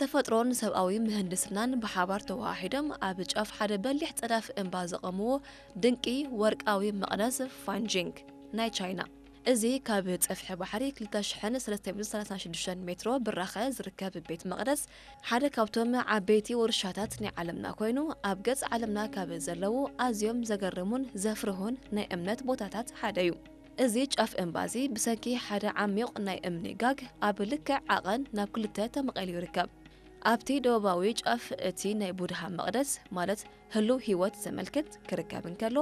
ተፈጥሮን ሰብኣዊ ምህንድስናን ብሓባር ተወሃሂዶም ኣብ ጫፍ ሓደ በሊሕ ጸዳፍ እምባ ዘቐምዎ ድንቂ ወርቃዊ መቕደስ ፋንጂንግ ናይ ቻይና። እዚ ካብ ጸፍሒ ባሕሪ ክልተ ሽሕን ሰለስተ ሚእትን ሰላሳን ሽዱሽተን ሜትሮ ብራኸ ዝርከብ ቤት መቕደስ ሓደ ካብቶም ዓበይቲ ውርሻታት ናይ ዓለምና ኮይኑ፣ ኣብ ገጽ ዓለምና ካብ ዘለዉ ኣዝዮም ዘገርሙን ዘፍርሁን ናይ እምነት ቦታታት ሓደ እዩ። እዚ ጫፍ እምባ እዚ ብሰንኪ ሓደ ዓሚቕ ናይ እምኒ ጋግ ኣብ ልክዕ ዓቐን ናብ ክልተ ተመቒሉ ይርከብ። ኣብቲ ደቡባዊ ጫፍ እቲ ናይ ቡድሃ መቕደስ ማለት ህሉው ህይወት ዘመልክት ክርከብ እንከሎ፣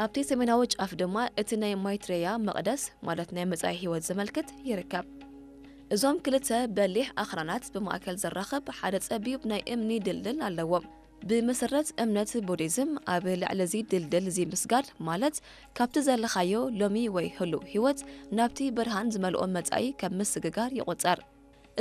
ኣብቲ ሰሜናዊ ጫፍ ድማ እቲ ናይ ማይትሬያ መቕደስ ማለት ናይ መጻኢ ህይወት ዘመልክት ይርከብ። እዞም ክልተ በሊሕ ኣኽራናት ብማእከል ዘራኽብ ሓደ ጸቢብ ናይ እምኒ ድልድል ኣለዎም። ብመሰረት እምነት ቡዲዝም፣ ኣብ ልዕሊ እዚ ድልድል እዚ ምስጋድ ማለት ካብቲ ዘለኻዮ ሎሚ ወይ ህሉው ህይወት ናብቲ ብርሃን ዝመልኦ መጻኢ ከም ምስግጋር ይቑጸር።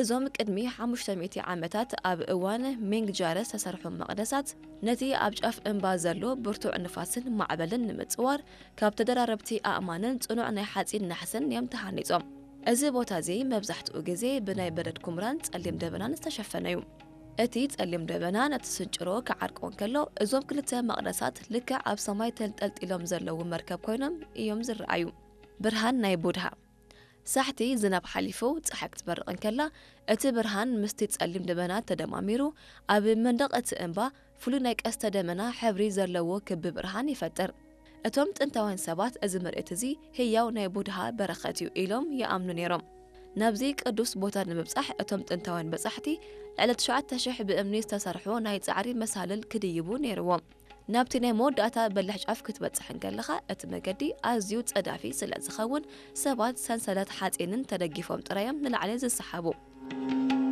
እዞም ቅድሚ ሓሙሽተ ሚእቲ ዓመታት ኣብ እዋን ሚንግ ጃረ ዝተሰርሑ መቕደሳት፣ ነቲ ኣብ ጫፍ እምባ ዘሎ ብርቱዕ ንፋስን ማዕበልን ንምጽዋር ካብ ተደራረብቲ ኣእማንን ጽኑዕ ናይ ሓጺን ናሕስን እዮም ተሃኒጾም። እዚ ቦታ እዚ መብዛሕትኡ ግዜ ብናይ በረድ ኩምራን ጸሊም ደበናን ዝተሸፈነ እዩ። እቲ ጸሊም ደበና ነቲ ስንጭሮ ክዓርቆ እንከሎ፣ እዞም ክልተ መቕደሳት ልክዕ ኣብ ሰማይ ተንጠልጢሎም ዘለዉ መርከብ ኮይኖም እዮም ዝረኣዩ። ብርሃን ናይ ቡድሃ። ሳሕቲ ዝናብ ሓሊፉ ጸሓይ ክትበርቕ እንከላ፣ እቲ ብርሃን ምስቲ ጸሊም ደበና ተደማሚሩ፣ ኣብ መንደቕ እቲ እምባ ፍሉይ ናይ ቀስተ ደመና ሕብሪ ዘለዎ ክቢ ብርሃን ይፈጥር። እቶም ጥንታውያን ሰባት እዚ ምርኢት እዚ ህያው ናይ ቡድሃ በረኸት እዩ ኢሎም ይኣምኑ ነይሮም። ናብዚ ቅዱስ ቦታ ንምብጻሕ እቶም ጥንታውያን በጻሕቲ ልዕሊ ትሽዓተ ሽሕ ብእምኒ ዝተሰርሑ ናይ ጻዕሪ መሳልል ክድይቡ ነይርዎም። ናብቲ ናይ መወዳእታ በሊሕ ጫፍ ክትበጽሕ እንከለኻ፣ እቲ መገዲ ኣዝዩ ጸዳፊ ስለ ዝኸውን፣ ሰባት ሰንሰለት ሓጺንን ተደጊፎም ጥራይ እዮም ንላዕሊ ዝሰሓቡ።